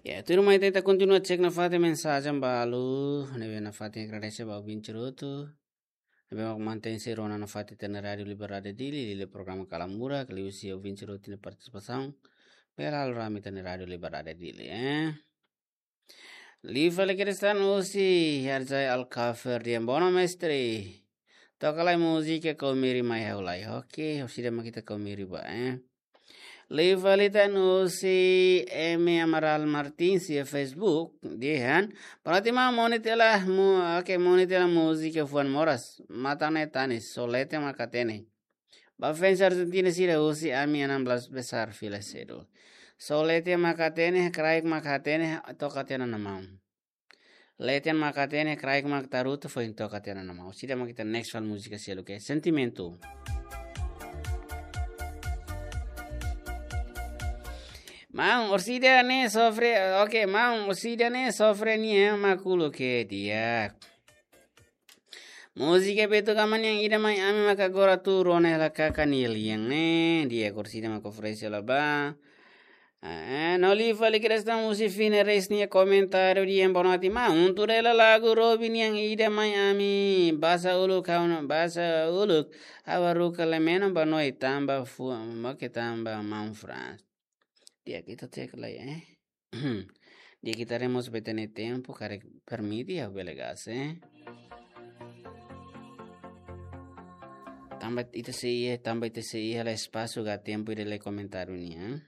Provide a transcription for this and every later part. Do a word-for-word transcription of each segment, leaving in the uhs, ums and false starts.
Ya, tuirmai ita kontinua cek nafatin mensajen balu, ne'ebé nafatin agradese ba ouvinte hotu. Ne'ebé mak mantein sei rona nafatin ita-nia Rádio Liberdade Dili, liuliu programa Kala Murak, liuhusi ouvinte hotu nia partisipasaun. Bele halo rame ita-nia Rádio Liberdade Dili, eh. Liu fali Kristan husi Harjai Alkafer, di'ak, boa noite mestre. Toka lai múzika Kau Meri Mai Ha'u Lai. Oke, orsida mak ita Kau Meri ba, eh. Liu fali tan husi Emi Amaral Martins iha Facebook, dehan: Boa noite maun, monu tiha hela mu-, oke, monu tiha hela múzika fuan moras, matan ne'e tanis, só leten mak hatene. Ba fans Argentina sira husi ami enam belas besar fila sedu. Só leten mak hatene, kraik mak hatene, toka tiha ona maun. Leten mak hatene, kraik mak tarutu, foin toka tiha ona maun. Orsida mak ita next fali múzika seluk, ke Sentimentu. Maun, orsida ne'e sofre, oke, maun, orsida ne'e sofre nia mak uluk, ke di'ak. Múzika Beto Gama nian Ida Mai Ami mak agora tuur ona hela kaka nia lian ne'e, di'ak, orsida mak oferese hela ba. Eh, no liu fali Kristan husi Fine Reis nia komentáriu, di'ak, boa noite maun, tuur hela lagu Robi nian Ida Mai Ami, Basa Uluk, ha'u no, Basa Uluk, ha'u haruka lemeno ba noi tanba fu-, moke tanba maun Frans. Di'ak, ita cek lai, eh. Di'ak, ita haree mós ba ita-nia tempu, karik permite ha'u bele gas, eh. Tanba ita sei iha, tanba ita sei iha hela espasu ka tempu ida lai komentáriu nian.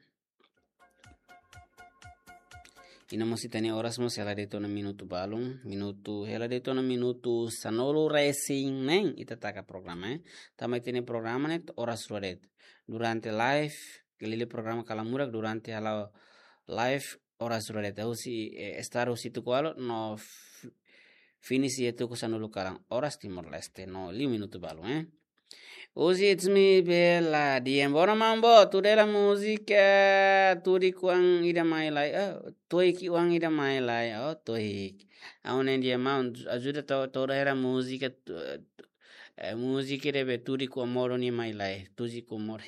I no mós ita-nia oras mós hela de'it ona minutu balun, minutu, hela de'it ona minutu sanulu-resin-neen ita taka programa, eh. Tanba ita-nia programa ne'e oras rua de'it. Durante live, liuliu programa Kala Murak durante halo live oras rua de'it. Husi, eh, start husi tuku ualu no f-, finish iha tuku sanulu kalan. Oras Timor-Leste no liu minutu balun, eh. Husi It's Me Bella, di'ak, boa noite maun, tuur hela múzika Tudik Oan Ida Mai Lai. Oh, Tudik Oan Ida Mai Lai. Oh, Tudik. Ha'u-nia di'ak maun, ajuda to-, tuur hela múzika tu-, eh, múzika ne'ebé Tudik Oan Modo nia mai lai, Tudik Oan Modo.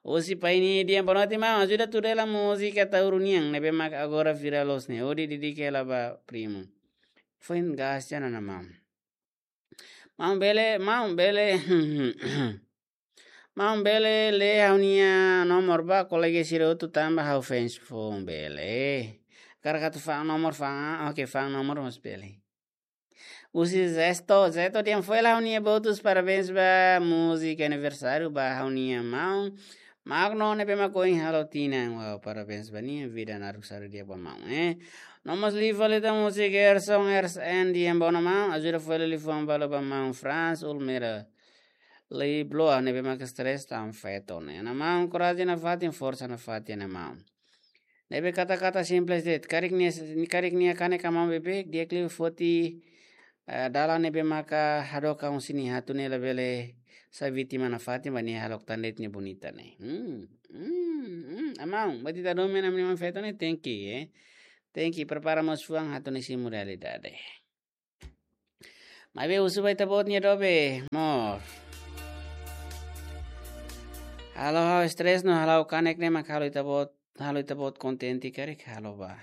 Husi Paini, di'ak, boa noite maun, ajuda tuur hela múzika Tauru nian, ne'ebé mak agora viral loos ne'e, hodi dedika hela ba primu. Foin gas tiha ona maun. Maun bele, maun bele. Maun bele lee ha'u-nia nomor ba kolega sira hotu tanba ha'u fans foun, bele. Karik atu fa'an nomor fa'an, ah, oke, fa'an nomor mós bele. Husi Zesto, Zesto, di'ak, fó hela ha'u-nia votus, parabéns ba múzika aniversáriu ba ha'u-nia maun Magno ne'ebé mak ohin halo tinan. Wow, parabéns ba nia, vida naruk sa'e di'ak ba maun, eh. No mós liu fali tan husi Gerson, Ers N, di'ak, boa noite maun, ajuda fó hela liafuan balu ba maun Frans Ulmera Leibloa ne'ebé mak stress tan feto ne'e. Ne'e maun, korajen nafatin, forsa nafatin, ne'e maun. Ne'ebé kata-kata simples de'it. Karik nia, karik nia kanek ka maun beibeik, di'ak liu foti, eh, dalan ne'ebé maka hadook ka husi nia atu nia labele sai vítima nafatin ba nia hahalok tan de'it nia bonita ne'e. Hmm, hmm, hmm. Maun, buat ita domin ami-nia maun feto ne'e tenke, eh. Tenke prepara mós fuan atu nia simu realidade. Maibé husu ba ita-boot nia dobe, amor. Halo ha'u stress no halo ha'u kanek ne'e mak halo ita-boot, halo ita-boot kontente karik halo ba.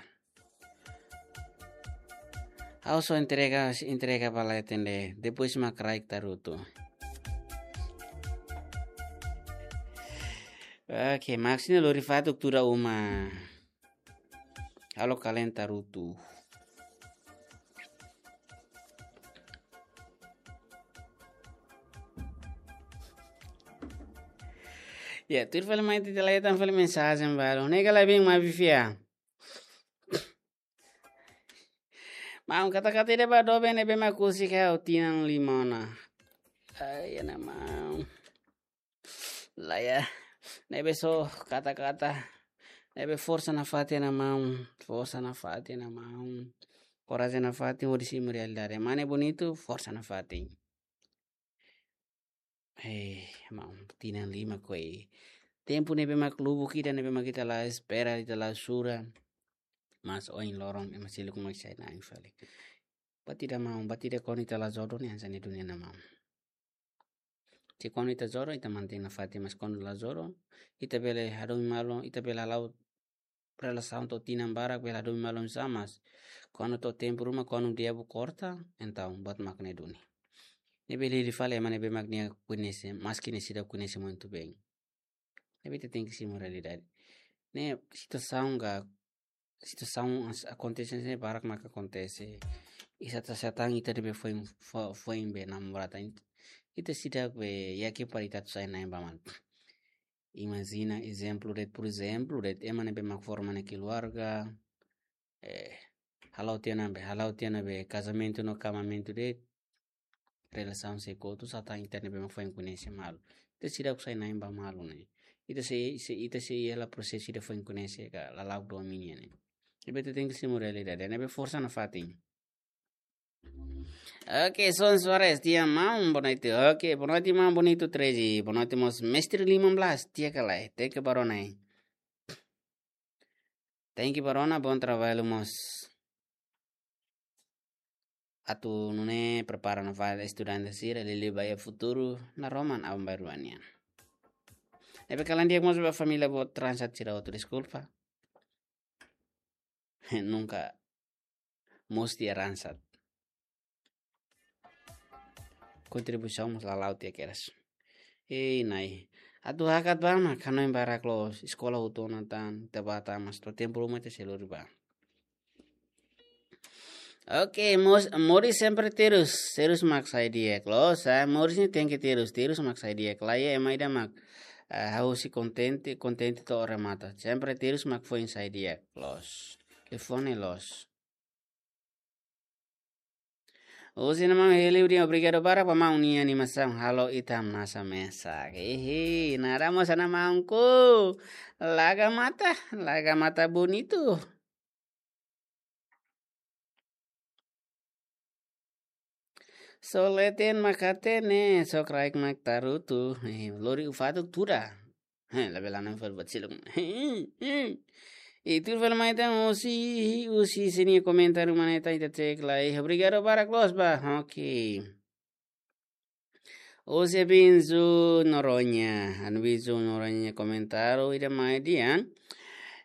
Ha'u só entrega, entrega ba leten de'it, depois mak kraik tarutu. Oke, Maxine lori fatuk tuda uma. Halo kalen tarutu. Ya, tuir fali mai ita leten fali mensajen balu. Nega labing ma bifia. Maun, kata-kata ida ba doben ne'ebé mak husik ha'u tinan lima ona. Ai, ne'e maun. Lae, ne'ebé só kata-kata. Ne'ebé forsa nafatin, ne'e maun. Forsa nafatin, ne'e maun. Korajen nafatin, hodi simu realidade. Mane bonitu, forsa nafatin. Eh, maun, tinan lima koe. Tempu ne'ebé mak lubuk ida, ne'ebé mak ita la espera, ita la sura. Mas ohin loron, ema seluk mak sai na'in fali. Buat ida maun, buat ida kuandu ita la jodoh ne'e hanesan ne'e dunia ne'e maun. Se kuandu ita jodoh, ita mantein nafatin, mas kuandu la jodoh, ita bele hadomi malu, ita bele hala'o relasaun to'o tinan barak bele hadomi malu oinsá, mas kuandu to'o tempu ruma, kuandu di'ak korta, entaun buat mak ne'e duni. Ne'ebé liu fali ema ne'ebé mak nia koñese, maski nia seidauk koñese muito bem. Ne'ebé ita tenke simu realidade. Ne'e situasaun ka, situasaun as-, akontese ne'e barak mak akontese. Ita ta sa tan ita ne'ebé foin, fo-, foin be namorada. Ita seidauk be yakin para ita atu sai na'in ba malu. Imajina ezemplu de'it, por ezemplu de'it, ema ne'ebé mak forma nia keluarga, eh, hala'o tiha ona be, hala'o tiha ona be kazamentu no kamamentu de'it, relasaun sei kotu, sa tan ita ne'ebé mak foin koñese malu. Ita seidauk sai na'in ba malu ne'e. Ita sei, sei, ita sei hela prosesu ida foin koñese ka lala'ok domin nian ne'e. Ne'ebé ita tenke simu realidade, ne'ebé forsa nafatin. Oke, Son Soares, di'ak maun, boa noite. Oke, boa noite maun, bonito treze. Boa noite mós, mestre lima belas, di'ak ka lae. Thank you ba rona. Thank you ba rona, bom trabalho mós. Atu nune'e prepara nafatin estudante sira, liuliu ba iha futuru, naroman aban-bainrua nian. Ne'ebé kalan di'ak mós ba família boot Ransat sira hotu, deskulpa. Nunka musti Ransat. Kontribuisaun mós lala'ok tiha kedas. Ei, Nai. Atu hakat ba mak hanoin barak loos, eskola hotu ona tan, ita bá tan, mas to'o tempu ruma ita sei lori ba. Oke, mos-, moris sempre terus, terus mak sai di'ak loos, ah, moris ne'e tenke terus, terus mak sai di'ak. Lae, ema ida mak, ah, ha'u sei kontente, kontente to'o remata. Sempre terus mak foin sai di'ak loos. Telefone loos. Husi nia maun Heliu dehan obrigadu barak ba maun nia animasaun halo ita hamnasa mesak. Hihi, nada mós ana maunku. Laga mata, laga mata bonitu. Só leten mak hatene, só kraik mak tarutu. Eh, lori ufatu tuda. Heh, labele hanoin fali buat seluk. Heh, heh. Ita fali mai tan husi, husi sini komentáriu mana ita, ita cek lai. Obrigadu barak loos ba. Oke. Husi Binzu Noronha. Anu Binzu Noronha komentáriu ida mai dehan.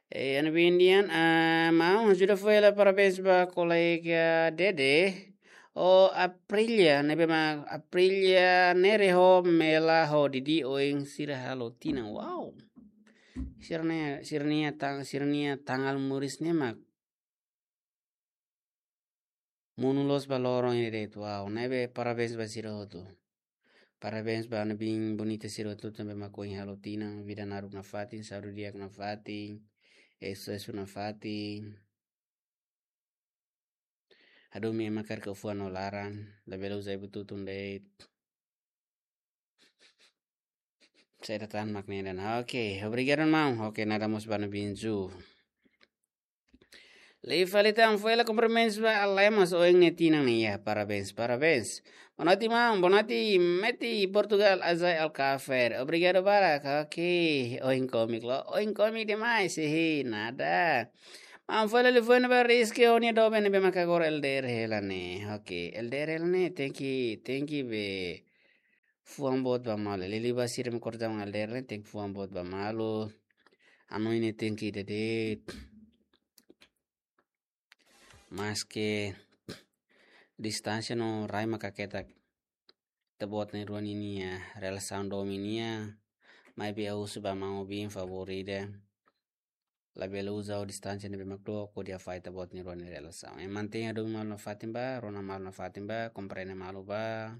Eh, anu Bin dehan, ah, maun ajuda fali, parabéns ba kolega Dede. Ho Aprilia, ne'ebé mak Aprilia Nere ho Mela ho Didi oin sira halo tinan. Wow. Sira-nia, sira-nia tang-, sira-nia tanggal moris ne'e mak monu loos ba loron ida de'it. Wow, ne'ebé parabéns ba sira hotu. Parabéns ba anu Bin bonita sira hotu ne'ebé mak oin halo tinan, vida naruk nafatin, saúde di'ak nafatin, eh, susesu nafatin. Hadomi ema karik fuan no laran, labele uza buat tutun de'it. Saida tan mak ne'e dehan. Oke, obrigadu maun. Oke, nada mós ba anu Binzu. Liu fali tan fali kumprimentus ba Alemas oin nia tinan ne'e, ya, parabéns, parabéns. Boa noite maun, boa noite Meti Portugal, Azai Alcafer. Obrigadu barak. Oke, oin komik loos, oin komik demais. Hihi, nada. Maun fali liafuan ba Rizky ho nia doben ne'ebé mak agora L D R hela ne'e. Oke, L D R hela ne'e tenke, tenke be fuan boot ba malu. Liuliu ba sira mak kordaun L D R ne'e tenke fuan boot ba malu. Hanoin ne'e tenke ida de'it. Maski distánsia no rai mak haketak ita-boot na'in-rua ninia relasaun domin nian, maibé ha'u husu ba maun Bin favór ida. Labele uza distánsia ne'ebé mak dook hodi hafahe ita-boot na'in-rua nia relasaun. Eh, mantein hadomi malu nafatin ba, rona malu nafatin ba, komprende malu ba.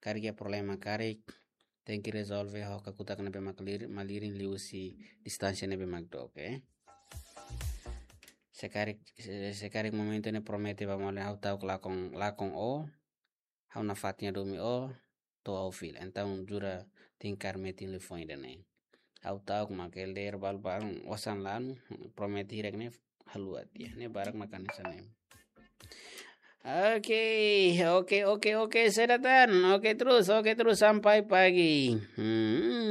Karik iha problema karik, tenke rezolve ho kakutak ne'ebé mak lir-, malirin liuhusi distánsia ne'ebé mak dook, eh. Se karik, se, se karik momentu ne'e promete ba malu ha'u ta'uk lakon, lakon ó, ha'u nafatin hadomi ó, to'o ha'u fila. Entaun jura tenke kaer metin liafuan ida-ne'e. Ha'u ta'uk mak L D R balu-balu, osan lanu, promete hirak ne'e haluha tiha. Ne'e barak mak hanesan ne'e. Oke, oke, oke, oke, saida tan. Oke terus, oke terus sampai pagi. Hmm.